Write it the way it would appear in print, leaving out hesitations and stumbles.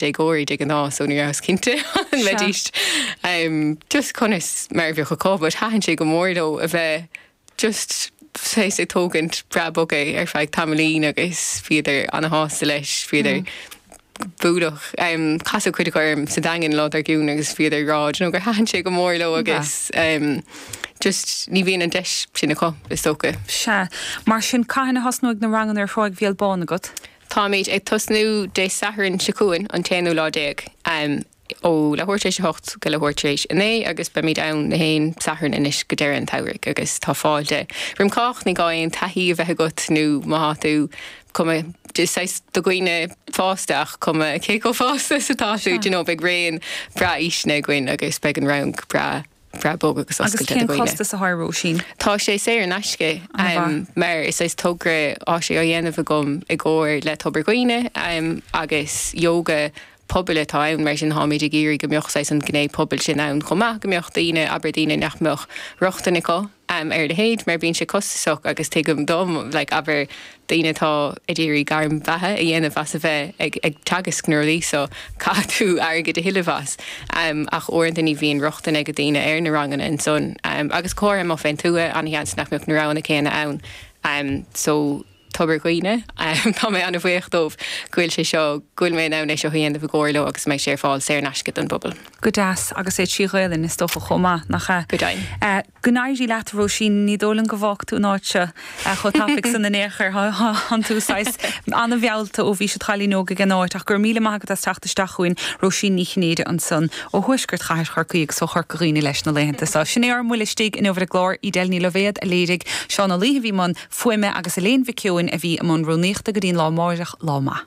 Déagóirí de ghnáth so ní rabhas cinnte an mbeidís just conas mar a bheadh acu but thaitin sé go mór leo a bheith just saghas ag tógaint breá bog é ar feadh tamaillín agus bhíodar ana-shásta leis, bhíodar bualadh, casadh cuid acu orm sa Daingean lá dár gcionn agus bhíodar ag rá you know gur thaitin sé go mór leo agus just ní bhíonn an deis sin acu is dócha. Sea. Mar sin cathain a thosnóidh na ranganna ar Thráigh Bhéal Bán agat? Táimid ag tosnú Dé Sathairn seo chugainn, an t-aonú lá déag, ó leathuair tar éis a hocht go leathuair tar éis a naoi agus beimid ann na haon Satharn anois go deireadh an tsamhraidh agus tá fáilte roim chách, ní gá aon taithí a bheith agat nó má thá tú cuma saghas do dhaoine fásta ach cuma cé chomh fásta is atá tú, do you know, beidh raon breá aoiseanna againn agus beidh an rang breá. breá bog agus Agus oscailte do cén dhaoine. costas atá air, Róisín? Tá sé saor in aisce An-mhaith. mar is saghas togra tá sé á dhéanamh agam i gcomhar le Tobar Dhuibhne agus yoga pobail atá ann mar sin táimid ag iarraidh go mbeadh saghas an ghné pobail sin ann chomh maith, go mbeadh daoine, abair daoine nach mbeadh rochtain acu ar a leithéid mar bíonn sé costasach agus tuigim dom like abair daoine atá ag iarraidh gairm bheatha a dhéanamh as a bheith ag ag teagasc na rudaí so caithfidh tú airgead a thuilleamh as ach uaireanta ní bhíonn rochtain ag daoine ar na ranganna ansan agus go háirithe amuigh fén tuath an-sheans nach mbeadh na roghanna céanna ann so Tobar Dhuibhne. Tá mé an-bhuíoch dóibh go bhfuil sé seo, go bhfuil mé in ann é seo a dhéanamh i gcomhar leo agus go mbeidh sé ar fáil saor in aisce don bpobal. Go deas, agus é trí Ghaelainn is dócha chomh maith, nach ea? Go deimhin. Go n-éirí leat, a Róisín. Ní dóigh liom go bhfágfaidh tú an áit seo chomh tapaidh san in aon chor. Tánn tú saghas an-mheallta ó bhís id chailín óg ag an áit. Ach go raibh míle maith agat as teacht isteach chugainn, Róisín Ní Chinnéide ansan ó thuaisceart chathair Chorcaí agus ó Chorca Dhuibhne leis na laethanta seo. Sin é ár mbuille istigh inniu ar an gclár. Edel Ní Loibhéad a léirigh, Seán Ó Laoithe a bhí i mbun fuaime agus Elaine Mhic Eoin a bhí i mbun rúnaíochta go dtí an lá amáireach. Lá maith.